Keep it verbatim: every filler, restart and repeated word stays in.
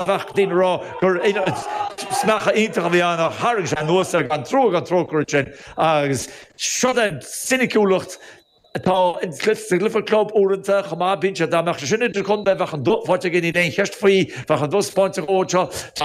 Bheadh daoine ag rá gur smeachadh iontach a bhí ann ach tharraing sé anuas air gan trua gan trócaire ansin agus seo é an soiniciúlacht atá sa gcluiche club uaireanta chomh maith. Bíonn sé dá mbeadh sé sin idir contae bheadh an bua faighte aige, níl aon cheist faoi, bheadh an bua spáinte dhó anseo.